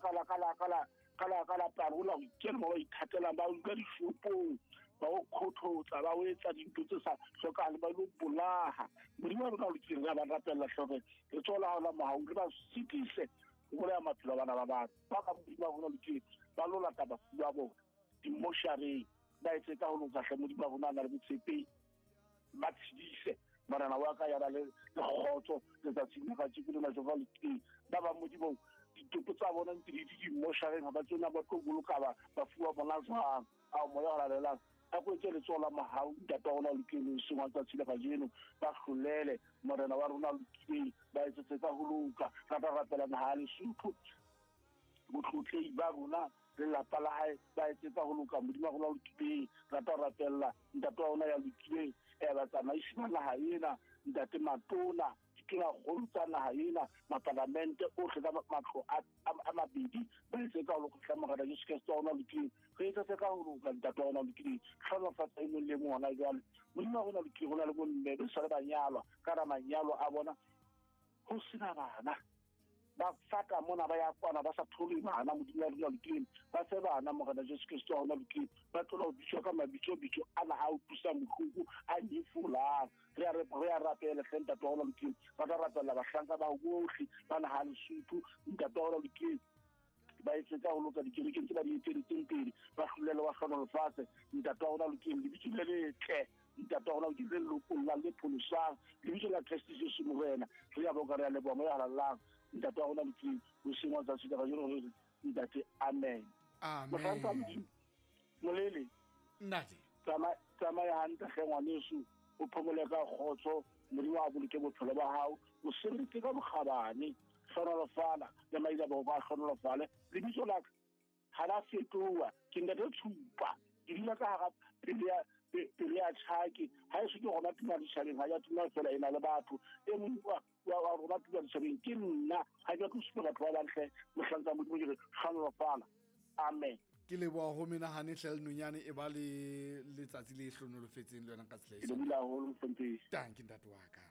ka la ka la ka la ka la ka la parola ho ikela mo ba ithatelang, ba utlwa dishopong, ba o kgothotsa, ba o etsa dintho tse sa hlokahale, ba lo bolaha. Modimo wa rona o lokileng, re ba rapella hlore re tsola ha ona mohau, re ba sitise ho bolaya maphelo a bana ba batho. Ba ba Modimo wa rona o lokileng, ba lo lata bafu ba bona dimoshareng, ba etse ka ho loka hle. Modimo wa rona a na le botshepehi, ba tshedise morena wa ka ya ba le kgotso letsatsing la kajeko lena Jehova lokileng. Ba bang Modimo ditopo tsa bona ntse di dimoshareng, ha ba tsona ba tlo boloka bafu ba bona jwang. Ao moya o halalelang a ko etse letsoho la mohau, ntate wa rona o lokileng, hoseng wa tsatsi la kajeno ba hlolele morena wa rona o lokileng, ba etsetse ka ho loka. Ra tla rapela naha ya Lesotho, botlotlehi ba rona lelapa la hae ba etse ka ho loka. Modimo wa rona o lokileng, ra tla rapella ntate wa rona ya lokileng, batsamaisi ba naha ena, ntate matona, ditonakgolo tsa naha ena, mapalamente ohle ka matlo a mabedi, ba etse ka ho loka. Hle morena Jesu Kreste wa rona o lokileng, re etsetse ka ho loka ntate wa rona o lokileng, hlonofatsa e mong le mong hona jwale. Modimo wa rona o lokileng, ho na le bomme ba sa le banyalwa, ka ra manyalo a bona ho sena bana, ba fata mona ba ya kwana ba sa thole bana. Modimo wa rona lokileng, ba fe bana morena Jesu Kreste wa rona lokileng, ba tlola ho bitswa ka mabitso-bitso ana a utlwisang bohloko, a nyefolang. Re a rapela hle ntate wa rona lokileng, ba tla rapella bahlanka ba bohle ba naha Lesotho, ntate wa rona lokileng, ba etse ka ho loka dikerekeng tse ba di eteletseng pele, ba hlolele wa hlonolofatse ntate wa rona lokileng, lebitso le letle ntate wa rona lokileng, le lokollang le pholosang, lebitso la Kreste Jesu morena. Re a boka, re a leboha moya halalelang ntate wa rona lokileng, hoseng wa tsatsi la kajeno re re ntate amen. Mohlanka Modimo molele ntate, tsamaya hantle hle ngwaneso, o phomole ka kgotso, Modimo a boloke bophelo ba hao, o sebeditse ka bokgabane, hlonolofala le maila bao ba hlonolofale. Lebitso la ka ha la fetoha, ke ntate Tshupa, ke dula ka hara pele ya tjhaki, ha eso ke rona tuma ditjhabeng, ha ya tuma fela e na le batho. E mong wa rona tuma ditjhabeng ke nna, ha ke tlo supa batho ba bang hle, mohlanka Modimo ke re hlonolofala. Amen. Ke leboha ho menahane hle le nonyane, e ba le letsatsi le hlonolofetseng le yona ka tsela e Ke lebohile haholo, mohlomphehi. Tanki ntate wa ka.